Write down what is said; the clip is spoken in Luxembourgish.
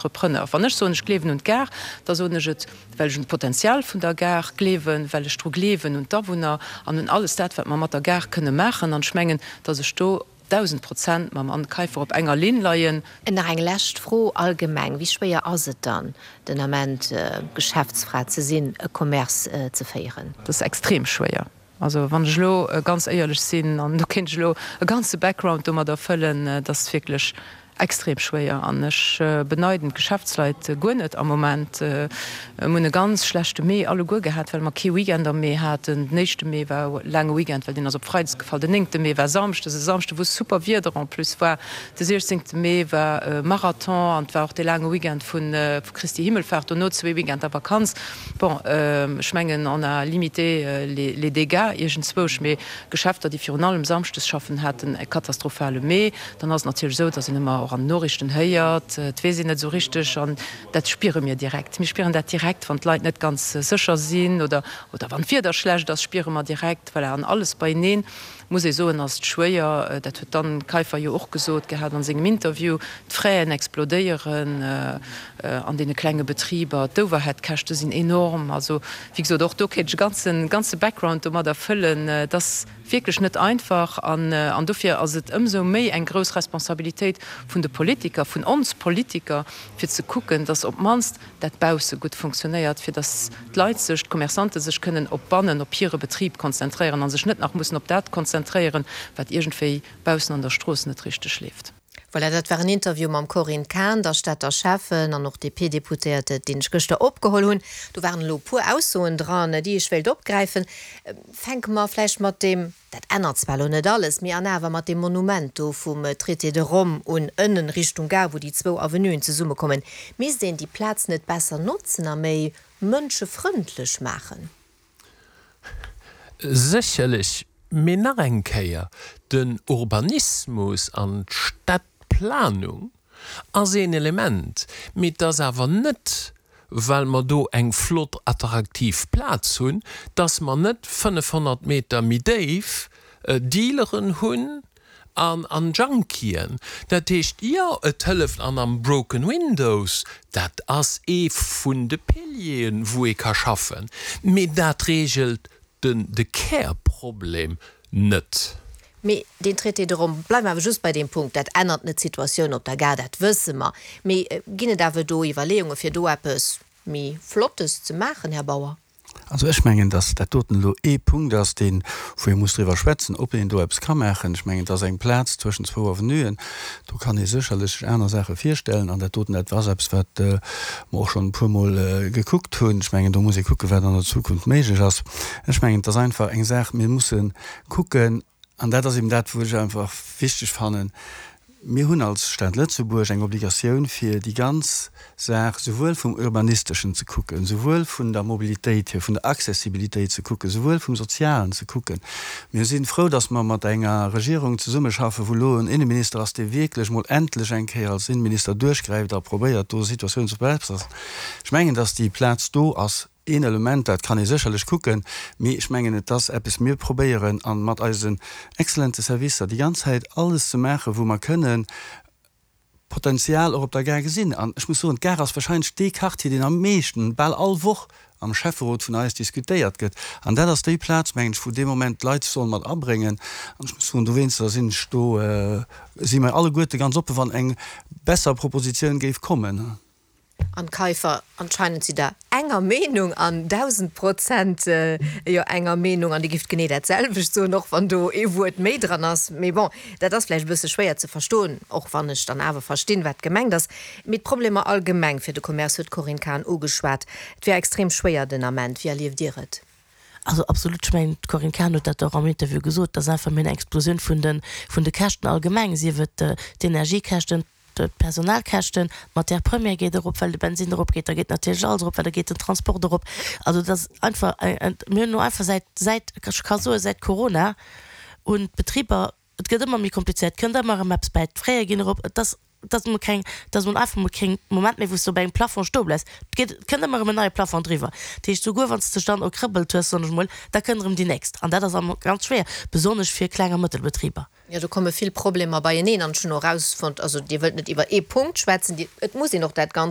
Entrepreneur. Wann ech soen, ech gleewen un d'Gare, da soen ech et, well ech un d'Potenzial vun der Gare gleewen, well ech dru gleewen un d'Awunner an un alles dat, wat mer mat der Gare kënne maachen. An ech mengen, datt ech do 1.000% mam Anne Kaiffer op enger Linn leien. Nach eng lescht Fro allgemeng, Wéi schwéier ass et dann den Ament, Geschäftsfra ze sinn, e Commerce ze féieren? Dat ass extrem schwéier. Also wann ech elo ganz éierlech sinn, an do kéint ech elo e ganze Background domadder fëllen, et ass wierklech extrem schwéier an ech beneiden d'Geschäftsleit guer net am Moment. Mir hunn e ganz schlechte Mee alleguer gehat, well mer kee Weekend am Mee haten. Den éischte Mee war e laange Weekend, well deen ass op Freides gefall. Den néngte Mee war Samschdes, e Samschde wou super Wieder en plus war. De siechzéngte Mee war Marathon an et war och dee laange Weekend vu Christi Himmelfahrt, dono zwee Weekender Vakanz. Bon, ech mengen, on a limité les dégâts iergendzwousch, mee Geschäfter, déi virun allem samschdes schaffen, haten e katastrophale Mee. Dann ass et natierlech esou, datt een ëmmer och an den Noriichten héiert, et weess een net esou richteg, an dat spiere mir direkt. Mir spieren dat direkt, wann d'Leit net ganz sécher sinn oder oder wann d'Wieder schlecht ass, spiere mer direkt, voilà, an alles beieneen. Muss ee soen, ass et schwéier. Dat huet d'Anne Kaiffer jo och gesot gehat an sengem Interview. D'Fraisen explodéieren an deene klenge Betriber, d'Overheadkäschte sinn enorm. Also, wéi gesot, och do kéint ech e ganzen, ganze Background domadder fëllen. Et ass wierklech net einfach an, an dofir ass et ëmsou méi eng grouss Responsabilitéit vun de Politiker, vun ons Politiker, fir ze kucken, datt op d'mannst dat bausse gutt funktionéiert, fir datt d'Leit sech, d'Commerçante sech kënnen op bannen, op hire Betrib konzentréieren a sech net nach mussen op dat konzentréieren, wat iergendwéi baussen an der Strooss net richteg leeft. Voilà, dat war en Interview mam Corinne Cahen, der Stater Schäffen an och DP-Deputéierte, deen ech gëschter opgeholl hunn. Do waren elo e puer Aussoen dran, déi ech wéilt opgräifen. Fänke mer vläicht mat deem Dat ännert zwar elo net alles, mee an awer mat deem Monument do vum Traité de Rome un, ënnen Richtung Gare, wou déi zwou Avenuen zesummekommen, misst een déi Plaz net besser notzen a méi mënschefrëndlech maachen? Sécherlech, mee nach eng Kéier, den Urbanismus an d'Stadplanung Ass een Element, mee et ass awer net, well mer do eng flott attraktiv Plaz hunn, dass mer net 500 Meter méi déif Dealeren hunn an an Junkien. Dat heescht, jo, et hëlleft an am Broken Windows, dat ass ee vun de Pilieren, wou ee ka schaffen, mee dat regelt den de Kärproblem net. Mee deen Traité de Rome, bleiwe mer awer just bei deem Punkt, dat ännert net d'Situatioun op der Gare, dat wësse mer. Mee ginn et awer do Iwwerleeunge fir do eppes méi Flottes ze maachen, Här Bauer? Also ech mengen, datt dat doten elo ee Punkt ass, deen, wou ee muss driwwer schwätzen, ob een do eppes ka maachen. Ech mengen, et ass eng Plaz zwëschen zwou Avenuen, do kann ee sécherlech sech aner Saache virstellen. An dat doten, dat ass eppes, wat mer och schonn e puermol gekuckt hunn. Ech mengen, do muss ee kucken, wat an der Zukunft méiglech ass. Ech mengen, et ass einfach eng Saach, mir musse kucken, an dat ass eben dat, wou ech einfach wichteg fannen, mir hunn als Stad Lëtzebuerg eng Obligatioun, fir déi ganz Saach souwuel vum Urbanisteschen ze kucken, souwuel vun der Mobilitéit hier, vun der Accessibilitéit ze kucken, souwuel vum Sozialen ze kucken. Mir si frou, dass mer mat enger Regierung zesummeschaffen, wou elo en Inneminister ass, dee wierklech mol endlech eng Kéier als Inneminister duerchgräift a probéiert, do Situatioun ze verbessern. Ech mengen, dass déi Plaz do ass, Een Element, dat kann ee sécherlech kucken, mee ech mengen, et ass eppes, mir probéieren a mat eisen exzellente Servicer déi ganz Zäit alles ze maachen, wou mer kënnen Potenzial och op der Gare gesinn. An ech muss soen, d'Gare ass wahrscheinlech dee Quartier, deen am meeschten, bal all Woch am Schäfferot vun eis diskutéiert gëtt. An dat ass déi Plaz, mengen ech, wou dee Moment d'Leit sech sollen mat abréngen. An ech muss soen, dowéinster sinn ech do, si mer alleguerte ganz oppen, wann eng besser Propositioun géif kommen. An d'Käufer, anscheinend sidd der enger Meenung an 1000% jo enger Meenung an Dir gifft genee dat selwecht soen, och wann do ee Wuert méi dran ass. Mee bon, dat ass vläicht e bësse schwéier ze verstoen, och wann ech dann awer verstinn, wat gemengt ass. Mee d'Problemer allgemeng fir de Commerce huet d'Corinne Cahen ugeschwat. Et wier extrem schwéier den Ament. Wéi erlieft Dir et? Also absolut, ech mengen, d'Corinne Cahen huet dat och am Interview gesot, et ass einfach méi eng Explosioun vun de vun de Käschten allgemeng, sief et d'Energiekäschten, D'Personalkäschten, d'Matière première geet erop, well de Bensinn eropgeet, da geet natierlech alles erop, well da geet den Transport erop. Also et ass einfach, mir hunn elo einfach säit, säit, ech ka soen, säit Corona hunn d'Betriber, et gëtt ëmmer méi komplizéiert, et kënnt ëmmer erëm eppes bäi, d'Fraie ginn erop, et ass, et ass emol keng, et ass emol einfach emol keng Moment méi, wou s de op engem Plafond stoe bleifs. Et geet, et kënnt ëmmer erëm en neie Plafond driwwer. Dat heescht, souguer wann s de dech dann erkrëbbelt hues, soen ech emol, da kënnt erëm déi nächst. An dat ass am ganz schwéier, besonnesch fir Kleng a Mëttelbetriber. Jo, do komme vill Problemer beieneen an ech hunn och erausfonnt, also Dir wëllt net iwwer ee Punkt schwätzen, Dir, et muss een och dat Ganzt.